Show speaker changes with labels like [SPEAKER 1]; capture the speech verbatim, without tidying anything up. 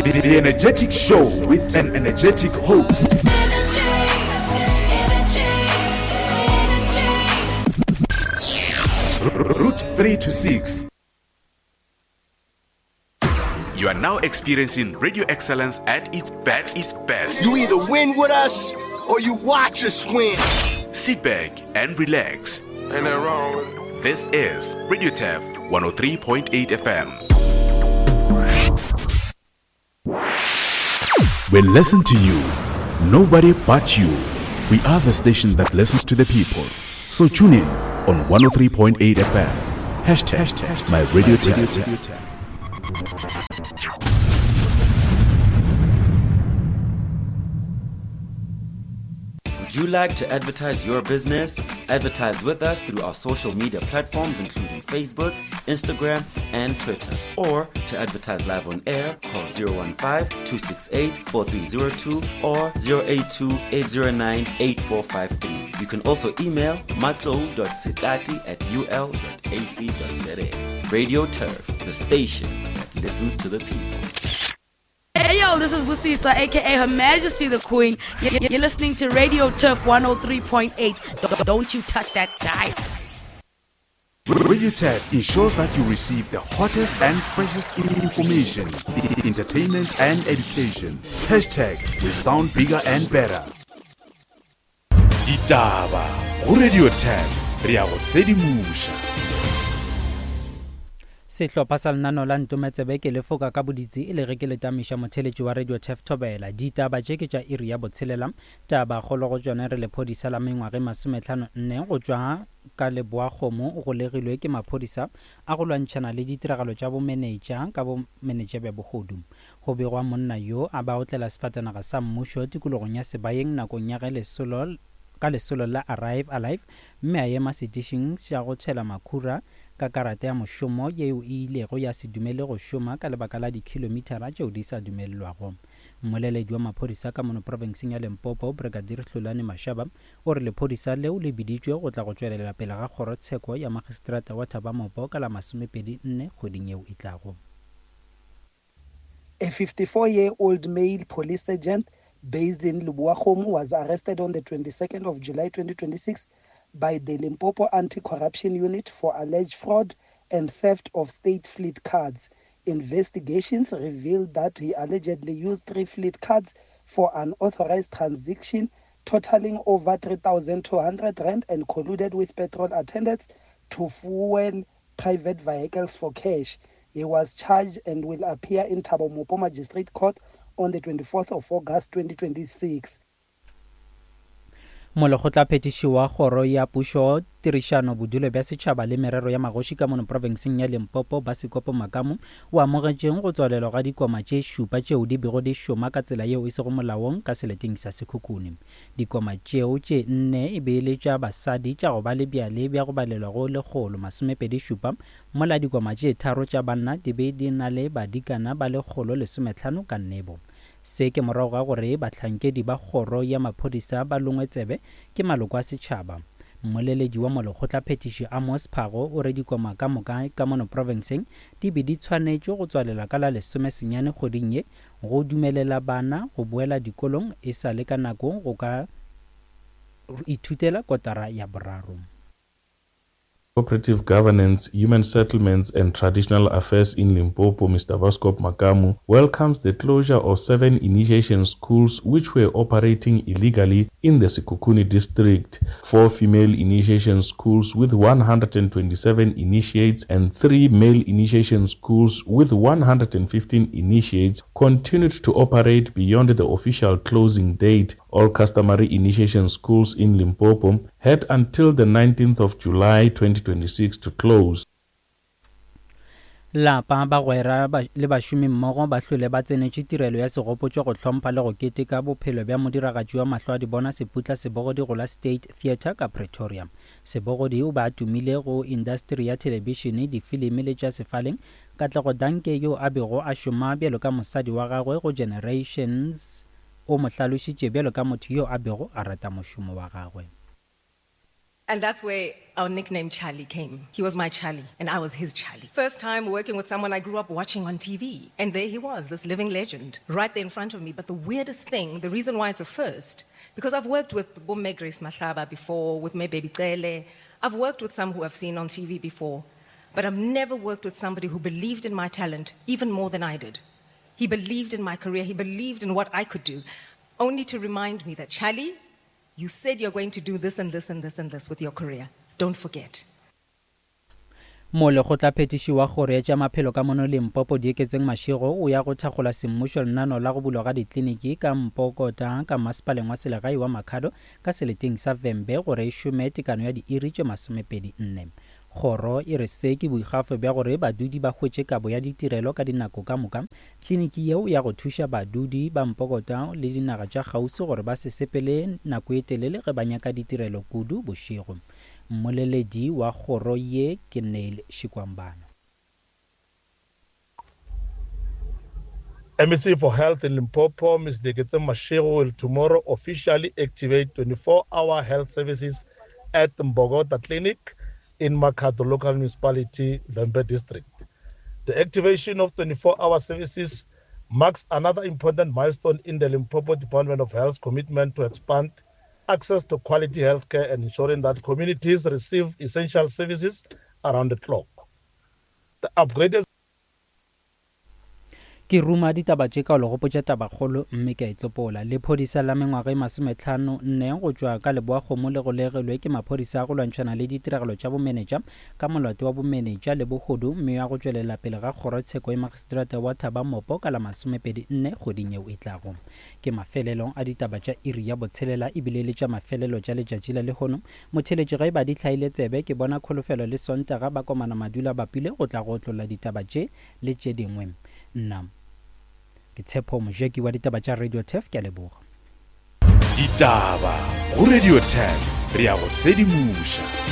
[SPEAKER 1] The energetic show with an energetic host. Route three to six.
[SPEAKER 2] You are now experiencing radio excellence at its best. Its best.
[SPEAKER 3] You either win with us or you watch us win.
[SPEAKER 2] Sit back and relax.
[SPEAKER 4] Ain't that wrong with it?
[SPEAKER 2] This is Radio Turf one oh three point eight F M.
[SPEAKER 1] We listen to you. Nobody but you. We are the station that listens to the people. So tune in on one oh three point eight F M. Hashtag, hashtag my radio Turf.
[SPEAKER 5] Would you like to advertise your business? Advertise with us through our social media platforms including Facebook, Instagram, and Twitter. Or to advertise live on air, call zero one five, two six eight, four three zero two or zero eight two, eight zero nine, eight four five three. You can also email matlo dot setati at u l dot a c dot z a. Radio Turf, the station that listens to the people.
[SPEAKER 6] Hey yo, this is Busisa, aka Her Majesty the Queen. You're listening to Radio Turf one oh three point eight. Don't you touch that dial.
[SPEAKER 1] Radio Turf ensures that you receive the hottest and freshest information, entertainment and education. Hashtag we sound bigger and better. Ditaba go Radio Turf, re a go sedimusha.
[SPEAKER 7] Sehlopha sa lenaneo la Ntometsebe ke lefoka ka boditsi e le ge ke letamiša motheletši wa Radio Turf Thobela. Ditaba tše ke tša iri ya botshelela. Taba kgolo go tšona re lephodisa la mengwage masometlhano nne go tšwa ka Leboakgomo o golegilwe ke maphodisa a go lwantšhana le ditiragalo tša bomenetša ka bomenetša bja bohodu. Go begwa monna yo a ba otlela sefatanaga sa mmušo tikologong ya Sebayeng nakong ya ge lesolo ka lesolo la Arrive Alive mme a ema setišing sa go tšhela makhura ka karata ya mošomo yeo e ilego ya se dumele go šoma ka lebaka la dikhilomithara tšeo di sa dumelelwago. Mmoleledi wa maphodisa ka mono profenseng ya Limpopo, Brigadier Hlulani Mashaba, o re lephodisa leo le biditšwe go tla go tšwelela pele ga kgorotsheko ya magistrata wa Thabamopo ka la masomepedi nne kgweding yeo e tlago.
[SPEAKER 8] A fifty-four-year-old male police sergeant based in Leboakgomo was arrested on the twenty-second of July twenty twenty-six by the Limpopo Anti-Corruption Unit for alleged fraud and theft of state fleet cards. Investigations revealed that he allegedly used three fleet cards for unauthorized transaction totaling over three thousand two hundred rand and colluded with petrol attendants to fuel private vehicles for cash. He was charged and will appear in Thabo Mopo Magistrate Court on the twenty-fourth of August twenty twenty-six.
[SPEAKER 7] Molekgotlaphethiši wa kgoro ya pušo tirišano bodulo bja setšhaba le merero ya magoši ka mono profenseng ya Limpopo Basikopo Makamu o amogetšeng go tswalelwa ga dikoma tše šupa tšeo di bego di šoma ka tsela yeo e sego molaong ka seleteng sa Sekhukhune. Dikoma tšeo tše nne e be e le tša basadi tša go ba le bjale bja go balelwa go lekgolo masomepedi šupa, mola dikoma tše tharo tša banna di be di na le badikana ba lekgolo lesometlhano ka nnebo. Se ke morago ga gore bahlankedi ba kgoro ya maphodisa ba longwe tsebe ke maloko a setšhaba. Mmoleledi wa molekgotlaphethiši Amos Phago o re dikoma ka moka ka mono profenseng di be di tshwanetše go tswalela ka la lesomesenyane kgweding ye go dumelela bana go boela dikolong e sa le ka nako go ka ithutela kotara ya boraro.
[SPEAKER 9] Cooperative Governance, Human Settlements and Traditional Affairs in Limpopo, Mister Vaskop Makamu, welcomes the closure of seven initiation schools which were operating illegally in the Sekhukhune district. Four female initiation schools with one hundred twenty-seven initiates and three male initiation schools with one hundred fifteen initiates continued to operate beyond the official closing date. All customary initiation schools in Limpopo had until the nineteenth of July twenty twenty-six to close.
[SPEAKER 7] Lapa bagwera le bašomi mmogo ba hlole ba tsenetše tirelo ya segopotšo go hlompha le go keteka bophelo bja modiragatši wa mahlo a dibona Seputla Sebogodi go la State Theatre ka Pretoria. Sebogodi o ba a tumile go indasteri ya thelebišene, difilimi le tša sefaleng. Katlego Danke yo a bego a šoma bjalo ka mosadi wa gagwe go Generations o mo hlalošitše bjalo ka motho yo a bego a rata mošomo wa gagwe.
[SPEAKER 4] And that's where our nickname Charlie came. He was my Charlie, and I was his Charlie. First time working with someone I grew up watching on T V. And there he was, this living legend, right there in front of me. But the weirdest thing, the reason why it's a first, because I've worked with Bomme Grace Mahlaba before, with Me Baby Cele. I've worked with some who I've seen on T V before. But I've never worked with somebody who believed in my talent even more than I did. He believed in my career. He believed in what I could do, only to remind me that, Charlie, you said you're going to do this and this and this and this with your career. Don't forget.
[SPEAKER 7] Molekgotlaphethiši wa kgoro ya tša maphelo ka mono Limpopo Dieketseng Mashego o ya go thakgola semmušo lenaneo la go bulwa ga ditliniki ka Mpokota ka masepaleng wa selegae wa Makhado ka seleteng sa Vhembe gore e šome tekano ya diiri tše masomepedi nne. Kgoro e re se ke boikgafo bja gore badudi ba hwetše kabo ya ditirelo ka dinako ka moka. Tliniki yeo ya go thuša badudi ba Mpokota le dinaga tša kgauswi gore ba se sepele nako e telele ge ba nyaka ditirelo kudu bošego. Mmoleledi wa kgoro ye ke Neil Shikwambana.
[SPEAKER 10] M E C for Health in Limpopo, Miz Dieketseng Mashego, will tomorrow officially activate twenty-four hour health services at Mbogota Clinic in Makhado Local Municipality, Vhembe District. The activation of twenty-four hour services marks another important milestone in the Limpopo Department of Health's commitment to expand access to quality healthcare and ensuring that communities receive essential services around the clock. The upgraded
[SPEAKER 7] Ke ruma ditaba tše ka o le gopotša tabakgolo mme ke a itsopola. Lephodisa la mengwaga e masometlhano nne go tšwa ka Leboakgomo le golegelwe ke maphodisa a go lwantšhana le ditiragalo tša bomenetša ka molato wa bomenetša le bohodu mme ya go tšwelela pele ga kgorotsheko ya magistrata wa Thaba-Mopo ka la masomepedi nne kgweding yeo e tlago. Ke mafelelong a ditaba tša iri ya botshelela ebile le tša mafelelo tša letšatši la lehono. Motheletši ge ba di hlaile tsebe ke bona Kholofelo le Sontaga ba komana madula bapile go tla go otlolla ditaba tše le tše dingwe. Nna ke Tshepo Mojeki wa ditaba tša Radio Turf, ke a leboga.
[SPEAKER 2] Ditaba go Radio Turf, re ya go sedimoša.